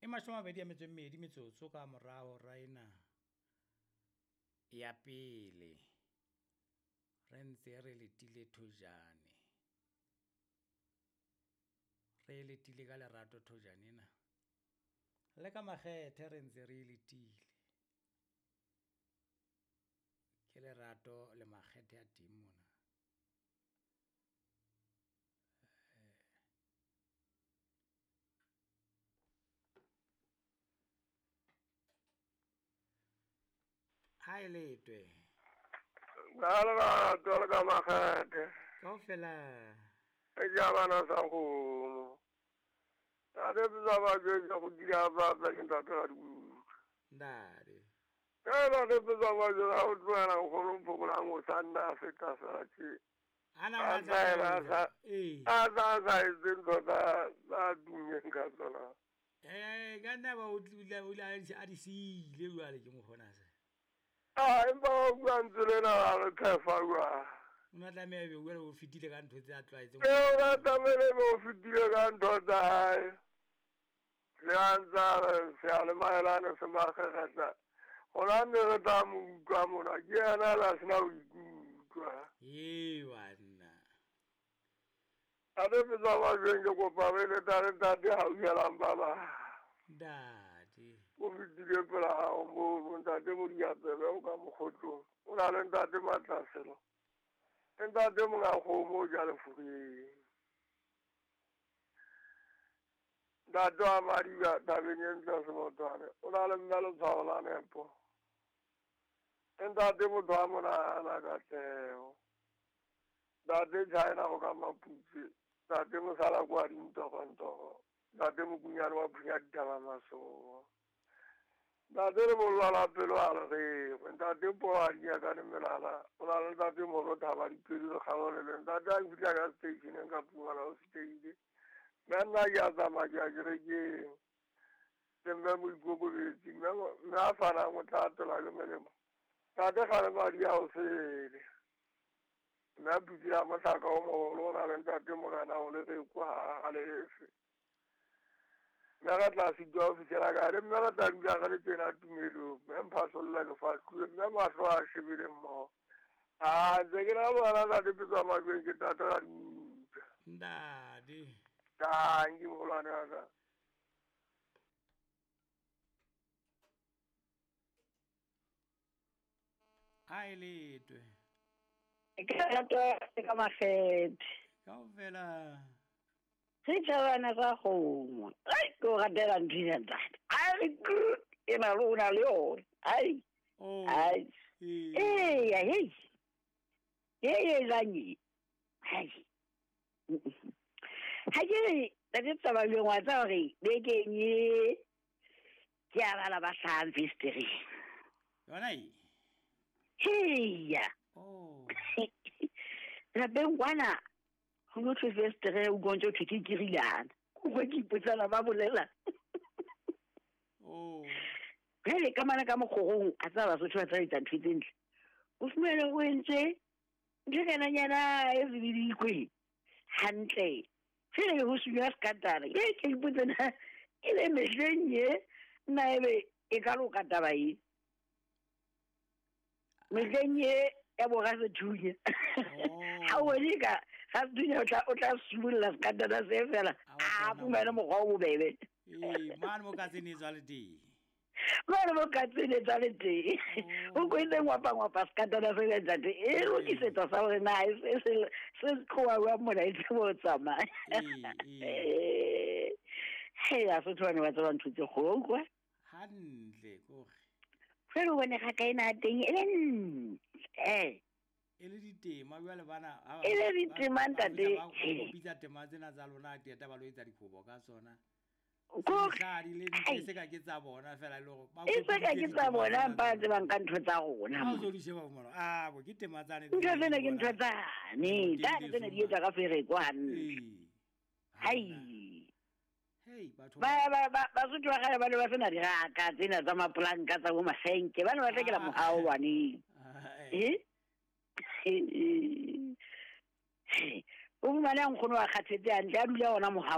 E 22 metsotso ka morago ra ena ya pele re ntse re letile thojane, re letile ka lerato thojane ena le ka makgethe re ntse re letile. Ke lerato le makgethe a teng mona. Ha e letwe. Ka lerato le ka makgethe. Kaofela. E ja bana sa kgomo. Ntate tsa ba jwetsa go dira ba tla ke ntate ga di utlwe. Ntate. Ka ntate tsa ba jwetsa go tlohela nkgono phokolang o sa nna a feta fela tje. Ana A o sa ela sa ee. a sa sa etse ntho tsa tummeng ka tsona. Eh, ka nna ba o tlile o ile a di siile jwale ke mokgona se. A empa wa bua ntse lena la re phefa jwang. O ne a tlameha ebe jwale o fetile ka ntho tse a tlwaetseng. Ee, o na tlamehile ebe o fetile ka ntho tsa hae. Le ha ntse a re seyalemayelane se makgekgetla. Gona ne re tla mo utlwa mona, ke yena a la sena ho ikutlwa. Ee banna. Ate petswa majweng ke kopa re le tla le ntate hauhelang ba bang. Ntate. O fetile pela hao mono, ntate Modiapele o ka mokgotlong. O na le ntate Matlaselo. Le ntate monga kgomo o ja lefureng. Ntate wa Madiba tabeng e ntle Semotwane. O na le mme letshwao la nepo. Le ntate motho wa monahana katleho. Ntate China o ka Maputse. Ntate mosala kwa dintogontogo. Ntate Mokunyane wa phunya ditaba masoba. Ntate le bollo la pelo a le gengwe. Ntate po a dinyakane melala. O na le ntate molo thaba dipelo le kgaolo le. Ntate a fihla ka stationeng ka Pumala o fetile. Mme nna ke a tsamaya ke ya kerekeng. Le mme moikokobetsi, mme a fanang o tla atola ke melemo. Ntate kgale madi a o sele. Mme a phutse ya mohlaka o moholo o na le ntate morena o le reko ha a lefe. Mme re tla sitwa ho fihlela kae, le mme re tla dula re le tjena tumelong. Mme mphasolla ke fahluwe, mme mahlo a shebile mmoho. A ntse ke na bona ntate petswa majweng ke tata ka diutlwa. Ntate. Tanki moholwane wa ka. A e letwe. Ke lerato le ka makgethe. Kaofela. Setjhabana sa kgomo. Ai, ke o ratela ntho ena ntate. A re e na le o na le yona. Ai. Oh. Ai. Ee. Eya, hei. Hei e jwang e? Hai. Ha ke re ntate Tsabaleng wa tseba hore bekeng e ke a bala ba hlahang fesetereng. Yona e? Heya. Oh. Lapeng kwana ho no thwe fesetere o utlwa ntse ho thwe ke kirilana. Ke utlwa ke ipotsana ba bolela. Oh. Jwale ka mane ka mokgorong a tseba Basotho ba tla etsa ntho tse ntle. O fumane o entse ntho e kananyana e zibidikwe hantle. Jwale ho sunywa sekatana. Ke ke ipotse na e le mehleng ye nna ebe e ka loka taba e. Mehleng ye ya bo rasethunya. Oh. Ha o bone ka rasethunya o tla simolla sekatana se fela. A A fumane mokgwa o bobebe. Ee, mane mo katseng e tswa le teng. Mane mo katseng e tswa le teng. Oh. O kwetse ngwapa ngwapa sekatana se le ntate. E lokisetsa sa hore na se tloha jwang mona e tsebe ho tsamaya. Ee, ee. Hei, Basotho ba ne ba tseba ntho tse kgolo, utlwa. Hantle kore. Jwale o bone kgaka ena ya teng e le ntle. E le ditema jwale bana ha E le ditema ntate. ba kopitsa tema tsena tsa lona qeta ba lo etsa dikobo ka tsona. Ko Di le Ai. se ka ke tsa bona fela e le hore ba E se ka ke tsa bona ba tsebang ka ntho tsa rona. Ha o so di sheba mona. Ah, bo ke tema tsane. Ntho tsena ke ntho tsane. Tsane tsena di etswa ka fereko hantle. Ee. Hai. Hei, batho Ba ba ba Basotho ba kgale ba ne ba sena diraka tsena tsa mapolanka tsa bo masenke. Ba ne ba hlekela mohao baneng. Ah, Eh? O fumane nkgono a kgathetse hantle a dula ona mohao.